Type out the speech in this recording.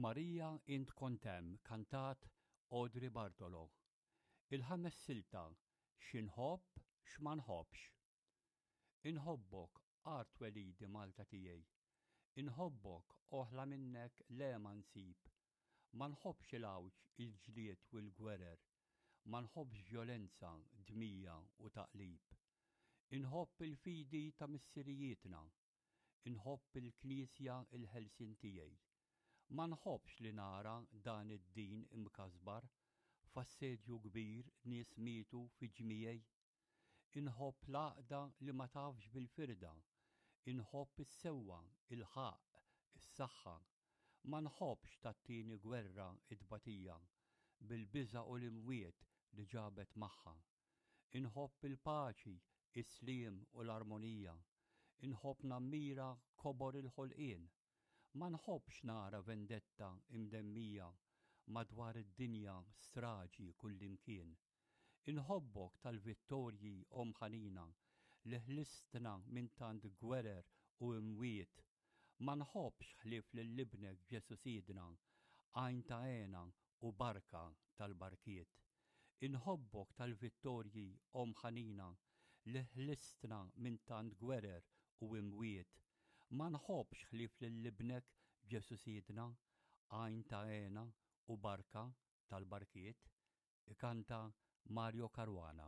Marija int kont hemm kantat Audrey Bartolo. Il-ħames silta Xi nħobb x'ma nħobbx. Inħobbok art twelidi Malta tiegħi. Inħobbok oħla minnek le ma nsib. Ma nħobbx il-għawġ il-ġlied u l-gwerer. Ma nħobbx vjolenza, dmija u taqlib. Inħobb il-fidi ta' missirijietna. Inħobb il-Knisja il-ħelsien tiegħi. Ma nħobbx li nara dan id-din imkasbar, f'assedju kbir nies mietu fi ġmiegħi. Inħobb l-għaqda li ma tafx bil-firda. Inħobb is-sewwa, il-ħaqq, is-saħħa. Ma nħobbx tat-tieni gwerra t-tbatija, bil-biża' u l-imwiet li ġabet magħha. Inħobb il-paċi, is-sliem u l-armonija. Inħobb nammira kobor il-ħolqien. Ma nħobbx nara vendetta imdemmija madwar id-dinja straġi kullimkien. Inħobbok tal-vittorji Omm ħanina li ħlistna minn tant gwerer u imwiet. Ma nħobbx ħlief lil Ibnek Ġesù Sidna, għajn ta' hena u barka tal-barkiet. Inħobbok tal-vittorji Omm ħanina li ħlistna minn tant gwerer u imwiet. Ma nħobbx ħlief lil Ibnek Ġesù Sidna, għajn ta' hena u barka tal-barkiet. Ikanta Mario Caruana.